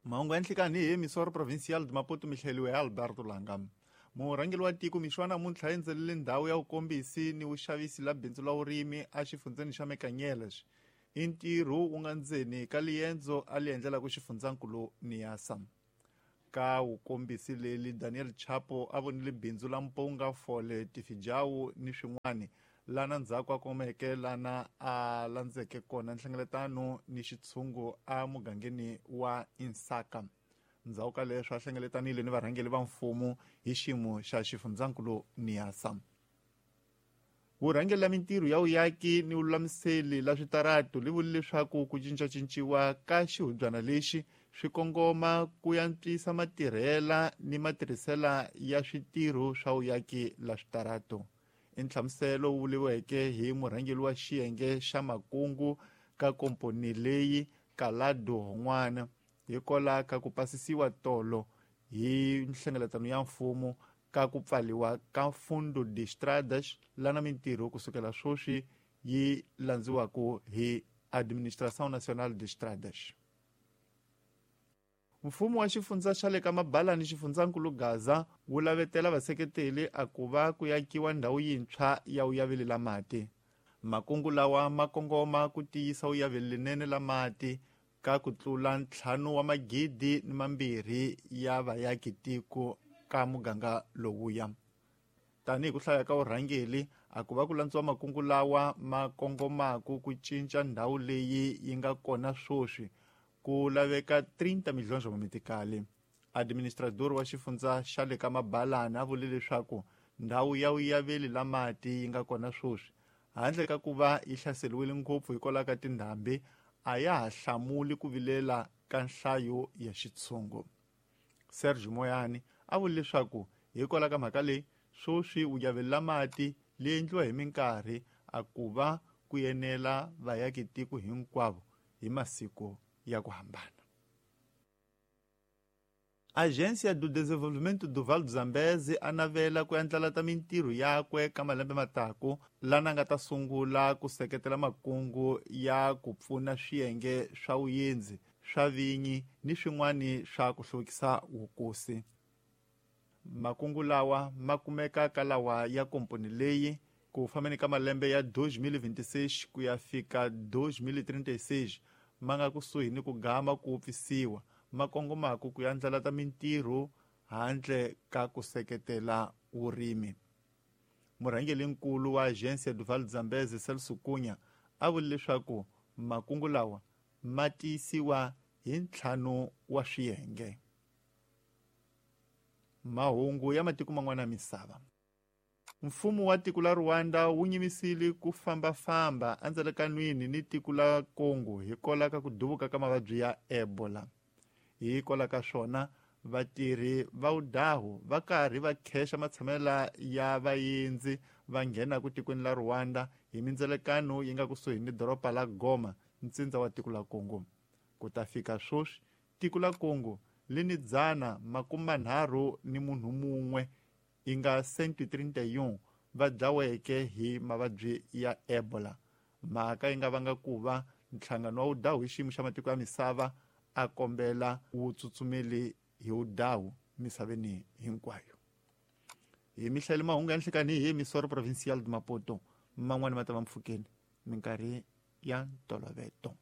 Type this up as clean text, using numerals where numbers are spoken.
Mahungu ya nhlikani hi Emissora Provincial de Maputo mi hleliwe hi Alberto Langa. Murhangeri wa tiko mixo wa namuntlha endzelele ndhawu ya vukombisi ni vuxavisi la bindzu la vurimi exifundzeni xa Mecanhelas. I ntirho wu nga ndzeni ka liendzo a li endlelaka xifundzankulu Niassa. Ka wukombisi leli Daniel Chapo a vonile bindzu la mpunga, fole, tifijawu ni swin'wani lana ndzhaku a komeke lana a landzeke kona nhlengeletano ni xitshungu a mugangeni wa Insaka. Ndzhaku ka leswo a hlengeletanile ni varhangeli va mfumo hi xiyimo xa xifundzankulu Niassa. Vurhangeri la mintirho ya vuyaki ni vululamiseli la switaratu li vule leswaku ku cincacinciwa ka xihubyana lexi swi kongoma ku yantswisa matirhela ni matirhisela ya switirho swa vuyaki la switaratu. I nhlamuselo wu vuriweke hi murhangeri wa xiyenge xa makungu ka komponi leyi Calado Hon'wana hikola ka ku pasisiwa tolo hi nhlengeletano ya mfumo ka ku pfaliwa ka Fundo de Estradas lana mintirho kusukela swoswi yi landziwaka hi Administração Nacional de Estradas. Mfumo wa xifundza xa le ka Mabalani xifundzankulu Gaza wu lavetela vaseketeli a ku va ku yakiwa ndhawu yintshwa ya vuyaveli la mati. Makungu lawa ma kongoma ku tiyisa vuyaveli linene la mati ka ku tlula 2,200 ya vayaki tiko ka muganga lowuya. Tanihi ku hlaya ka vurhangeli a ku va ku landziwa makungu lawa ma kongomaka ku cinca ndhawu leyi yi nga kona swoswi ku laveka 30 milhões wa mitikali. Administrador wa xifundza xa le ka Mabalani a vule leswaku ndhawu ya vuyaveli la mati yi nga kona swoswi handle ka ku va yi hlaseriwile ngopfu hikwalaho ka tindhambi a ya ha hlamuli ku vilela ka nhlayo ya xitshungu. Sergio Moyani a vule leswaku hikwalaho ka mhaka leyi swoswi vuyaveli la mati li endliwa hi minkarhi a ku va ku enela vayaki tiko hinkwavo hi masiku ya ku hambana. Agência do Desenvolvimento do Vale do Zambeze a navela ku andlalata mintirho yakwe ka malembe mataku lana nga ta sungula ku seketela makungu ya ku pfuna swiyenge swa vuyendzi swa vinyi ni swin'wani swa ku hluvukisa wukosi. Makungu lawa ma kumeka ka lawa ya komponi leyi ku fambeni ka malembe ya 2026 ku ya fika 2036 ma nga kusuhi ni ku gama ku wupfisiwa ma kongomaka ku andlalata mintirho handle ka ku seketela vurimi. Murhangeri-nkulu wa Agência do Vale do Zambeze Celso Cunha a vule leswaku makungu lawa ma tiyisiwa hi ntlhanu wa swiyenge. Mahungu ya matiko man'wana ya misava. Mfumo wa tiko la Rwanda wu nyimisile ku fambafamba endzelekanwini ni tiko la Congo hikwalaho ka ku duvuka ka mavabyi ya Ebola. Hikwalaho ka swona vatirhi va vudahu va karhi va khexa matshamela ya vaendzi va nghenaka tikweni la Rwanda hi mindzelekano yi nga kusuhi ni doroba la Goma, ntsindza wa tiko la Congo. Ku ta fika swoswi tiko la Congo li ni 331 yi nga 131 va dlaweke hi mavabyi ya Ebola. Mhaka yi nga vanga ku va nhlangano wa vudahu hi xiyimo xa matiko ya misava a kombela wu tsutsumeli hi vudahu misaveni hinkwayo. Hi mihlayelo mahungu ya nhlikani hi Emissora Provincial de Maputo man'wani ma ta va mpfhukeni minkarhi ya ntoloveto.